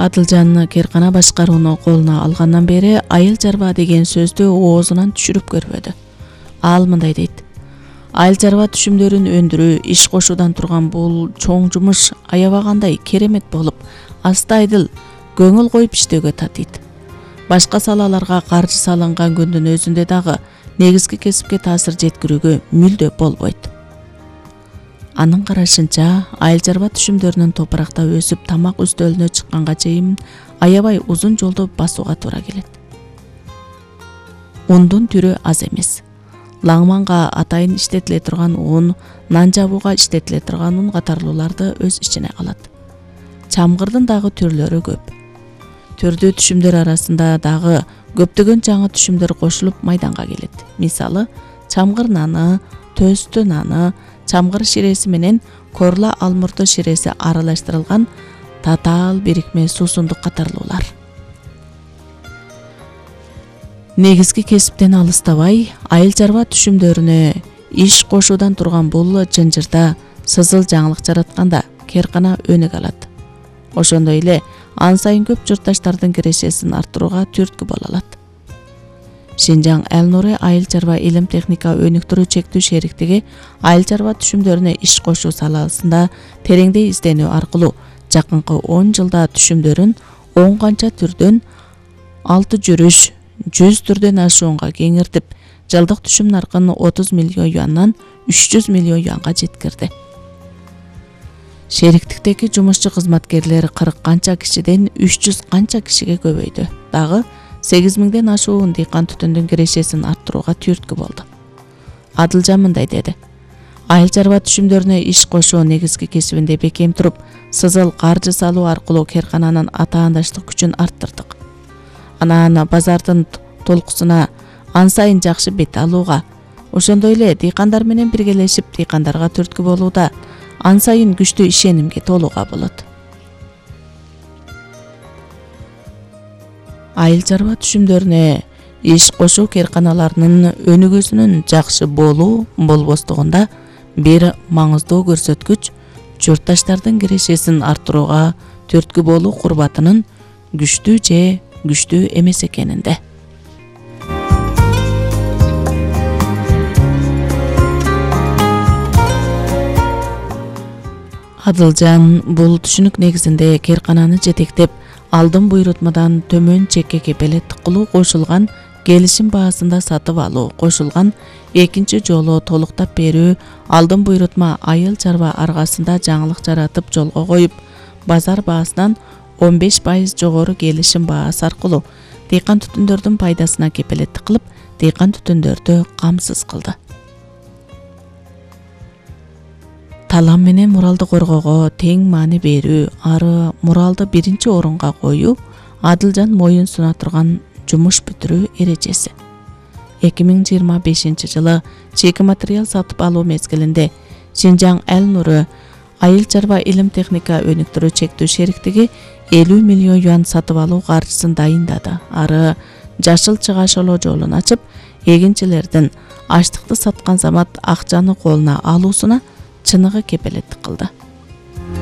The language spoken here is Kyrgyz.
Адылжан Керкана башкарууну колуна алгандан бери айыл чарба деген сөздү оозунан түшүрүп көрбөдү. Ал мындай дейт: айыл чарба түшүмдөрүн өндүрүү, иш кошуудан турган бул чоң жумуш аябагандай керемет болуп, астайдыл көңүл коюп иштөөгө татыйт. Башка салаларга каржы салынган күндүн өзүндө дагы негизги кесипке таасир жеткирүүгө мүлдө болбойт. Анын карашынча, айыл чарба түшүмдөрүнүн топуракта өсүп тамак үстөлүнө чыкканга чейин аябай узун жолду басууга туура келет. Ундун түрү аз эмес. Лаңманга атайын иштетиле турган ун, нан жабууга иштетиле турган ун катарлууларды өз ичине алат. Чамгырдын дагы түрлөрү көп. Түрдүү түшүмдөр арасында дагы көптөгөн жаңы түшүмдөр кошулуп майданга келет. Мисалы, чамгыр наны, төстү наны, чамгыр ширеси менен корла алмурду ширеси аралаштырылган татаал бирикме суусундук катарлуулар. Негизги кесиптен алыстабай, айыл чарба түшүмдөрүнө иш кошуудан турган бул жынжырда сызыл жаңылык жаратканда Керкана өнүк алат. Ошондой эле ан сайын көп журтташтардын кирешесин арттырууга түрткү боло алат. Шинжаң Эл-Нури айыл чарба илим техника өнүктүрүү чектүү шериктиги айыл чарба түшүмдөрүнө иш кошуу саласында тереңдей изденүү аркылуу жакынкы 10 жылда түшүмдөрүн 10 канча түрдөн 6 жүрүш 100 түрдөн ашуунга кеңиртип, жылдык түшүм наркын 30 миллион юандан 300 миллион юанга жеткирди. Шериктиктеги жумушчу кызматкерлер 40 канча кишиден 300 канча кишиге көбөйдү. Дагы 8000ден ашуу дыйкан түтүндүн кирешесин арттырууга түрткү болду. Адылжан мындай деди: айыл чарба түшүмдөрүнө иш кошуу негизги кесибинде бекем туруп, сызыл каржы салуу аркылуу Керкананын атаандаштык күчүн арттырдык. Анан базардын толкусуна ан сайын жакшы бет алууга, ошондой эле дыйкандар менен биргелешип дыйкандарга түрткү болууда ан сайын күчтүү ишенимге толууга болот. Айыл чарба түшүмдөрүнө иш кошуу Керканаларынын өнүгүүсүнүн жакшы болуу болбостугунда бир маңыздуу көрсөткүч журтташтардын кирешесин арттырууга түрткү болуу курбатынын күчтүү же күчтүү эмес экенинде. Адылжан бул түшүнүк негизинде Керкананы жетектеп, алдын буйрутмадан төмөн чекке кепелеттик кылуу кошулган келишим баасында сатып алуу кошулган экинчи жолу толуктап берүү, алдын буйрутма айыл чарба аргасында жаңылык жаратып жолго коюп, базар баасынан 15% жогору келишим баасы аркылуу дыйкан түтүндөрдүн пайдасына кепелеттик кылып, дыйкан түтүндөрдү камсыз кылды. Талам менен муралды коргоого тең маани берүү, ары муралды биринчи орунга коюу Адылжан моюн суна турган жумуш бүтүрүү эрежеси. 2025 жылы чеки материал сатып алуу мезгилинде Шинжаң Эл-Нури айыл чарба илим техника өнүктүрүү чектүү шериктиги 50 миллион юан сатып алуу каржысын дайындады. Ары жашыл чыгашылоо жолун ачып, эгинчилердин аштыкты саткан замат акчаны колуна алуусуна чыныгы кепелеттик кылды.